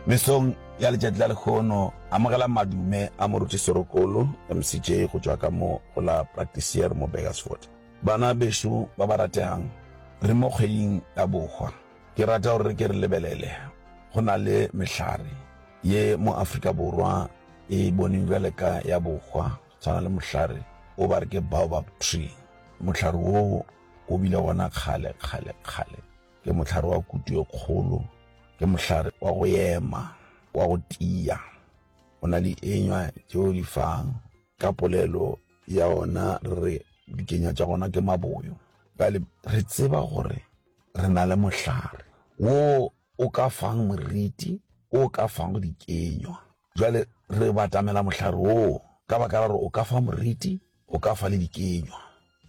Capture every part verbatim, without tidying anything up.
Mesong ya letšatši la lehono, amogela madume a Moruti Serokolo, M C J, go tšwa ka mo go la Practicier mo Burgersfort. Bana bešo ba ba rategang, re mo kgweding ya bohwa. Ke rata gore re ke re lebelele, go na le mehlare ye mo Afrika Borwa e boneng bjale ka ya bohwa, tshwana le mohlare o ba re ke baobab tree. Mohlare wo o bile gona kgale kgale kgale, ke mohlare wa kutu e kgolo, ke mohlare wa go ema, wa go tia, o na le enywa tšeo di fang. Ka polelo ya ona re re dikenywa tša gona ke maboyo. Bjale re tseba gore re na le mohlare wo o ka fang moriti, o ka fang dikenywa. Jwale re batamela mohlare woo ka baka la gore o ka fa moriti, o ka fa le dikenywa.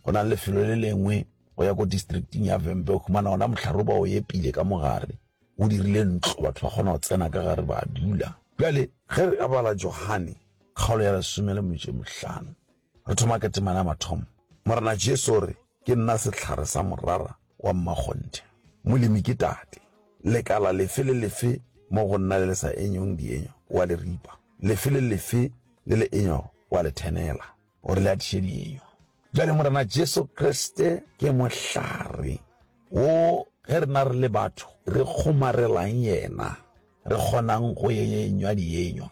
Go na le lefelo le lengwe go ya ko districting ya Vhembe, o humana ona mohlare o ba o epile ka mogare, o dirile ntlo, batho ba kgona go tsena ka gare ba dula. Bjale ge re bala Johane kgaolo ya lesome le metšo e mehlano, re thoma ka temana ya mathomo, Morena Jesu o re, "Ke nna sehlare sa morara wa mmakgonthe, molemi ke Tate. Lekala lefe le lefe mo go nna le le sa enyong dienywa wa le ripa, lefe le lefe le le enywago wa le thenela, gore le atiše dienywa." Bjale Morena Jesu Kriste ke mohlare wo ge rena re le batho re kgomarelang yena, re kgonang go enywa dienywa,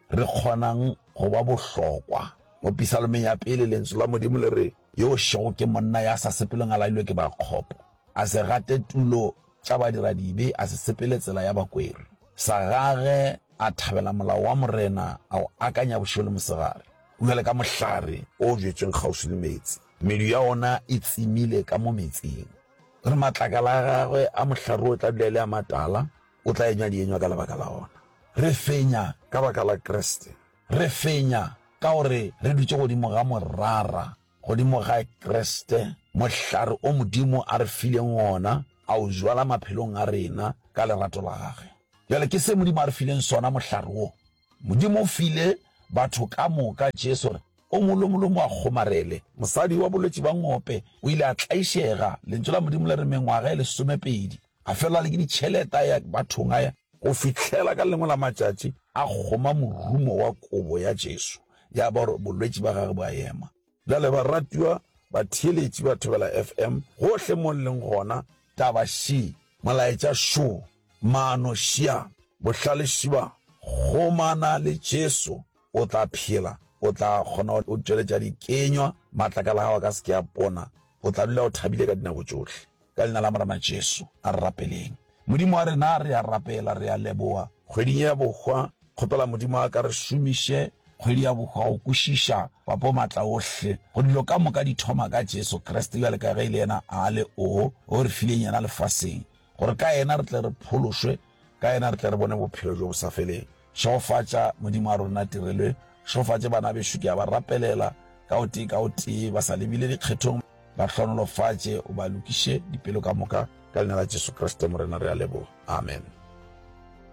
re kgonang go ba bohlokwa. Mo Pisalomeng ya pele, lentswe la Modimo le re, "Yo šego ke monna ya sa sepeleng a lailwe ke bakgopo, a se gate tulo tša badiradibe, a se sepele tsela ya bakweri. Sa gage a thabela molao wa Morena, a o akanya bošego le mosegare. O bjale ka mohlare o jetsweng kgauswi le meetse, medu ya ona e tsemile ka mo metseng. Re matlakala a gagwe a mohlare o tla dula e le a matala, o tla enywa dienywa ka lebaka la ona." Re fenya ka baka la Kriste, re fenya ka gore re dutše godimo ga morara, godimo ga Kriste, mohlare o Modimo a re fileng ona, a o jwala maphelong a rena ka lerato la gagwe. Bjale ke se Modimo a re fileng sona, mohlare wo. Modimo o file batho ka moka Jesu gore o mongwe le a kgomarele. Mosadi wa bolwetši ba ngope o ile a tlaišega, lentšu la Modimo le re, mengwaga e lesomepedi, a fela le ke ditšhelete a ya bathong a ya go fihlela ka lengwe la matšatši a kgoma morumo wa kobo ya Jesu, ya ba gore bolwetši ba gagwe bo a ema. Bjale baratiwa batheeletši ba Thobela F M gohle mo le leng gona, taba še, molaetša šo, maano šia, bohlale šiba: kgomana le Jesu, o tla phela, o tla kgona go tšweletša dikenywa, matlakala a gago a ka se ke a pona, o tla dula o thabile ka dinako tšohle. Ka leina la Morena Jesu, a re rapeleng. Modimo wa rena, re a rapela, re a leboa kgweding ya bohwa. Kgopela Modimo a ka re šomiše kgwedi ya bohwa go kwešiša papo maatla ohle, go dilo ka moka di thoma ka Jesu Kriste, bjale ka ge e le yena a le o o re fileng yena lefaseng, gore ka yena re tle re phološwe, ka yena re tle re bone bophelo bjo bo sa feleng. Šegofatša, Modimo wa rona, tirelo. Šegofatše bana bešo, ke a ba rapelela ka o tee ka o tee, ba sa lebile dikgethong. Ba hlonolofatše, o ba lokiše dipelo ka moka. Ka leina la Jesu Kriste Morena re a leboga, amen.